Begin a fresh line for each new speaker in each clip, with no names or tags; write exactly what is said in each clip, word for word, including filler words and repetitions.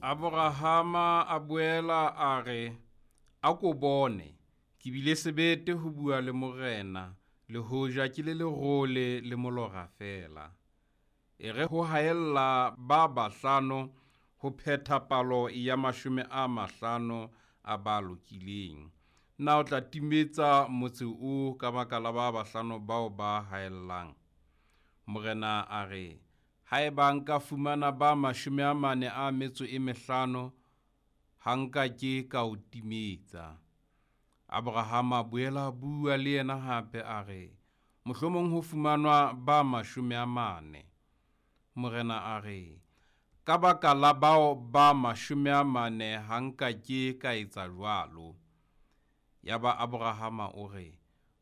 Abrahama a boela a re, Ako bone, ke bile sebete ho bua le Morena, le hoja ke le lerole le molora feela. E re ho haella ba bahlano ho phetha palo ya mashome a mahlano a ba lokileng. Na o tla timetsa motse oo ka baka la ba bahlano bao ba haellang? Morena a re, Haeba nka fumana ba mashome a mane a metso e mehlano, ha nka ke ka o timetsa. Abrahama a boela a bua le yena hape a re, Mohlomong ho fumanwa ba mashome a mane. Morena a re, Ka baka la bao ba mashome a mane ha nka ke ka etsa jwalo. Yaba Abrahama o re,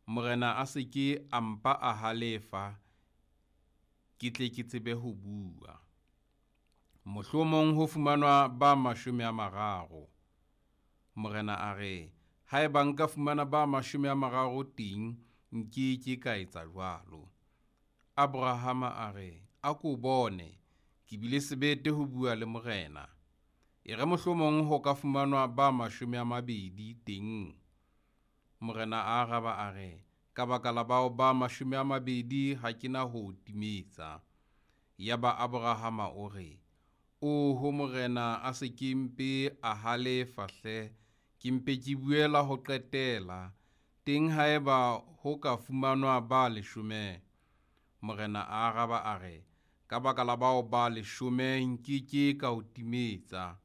Morena a se ke a mpa a halefa, ke tle ke tsebe ho bua. Mohlomong ho fumanwa ba mashome a mararo. Morena a re, Haeba nka fumana ba mashome a mararo teng, nke ke ka etsa jwalo. Abrahama a re, Ako bone, ke bile sebete ho bua le Morena. E re mohlomong ho ka fumanwa ba mashome a mabedi teng. Morena a araba a re, Ka baka la bao ba mashome a mabedi ha ke na ho o timetsa. Yaba Abrahama o re, Oho Morena a se ke mpe a halefa hle, ke mpe ke buela ho qetela, teng haeba ho ka fumanwa ba leshome. Morena a araba a re, Ka baka la bao ba leshome nke ke ka o timetsa.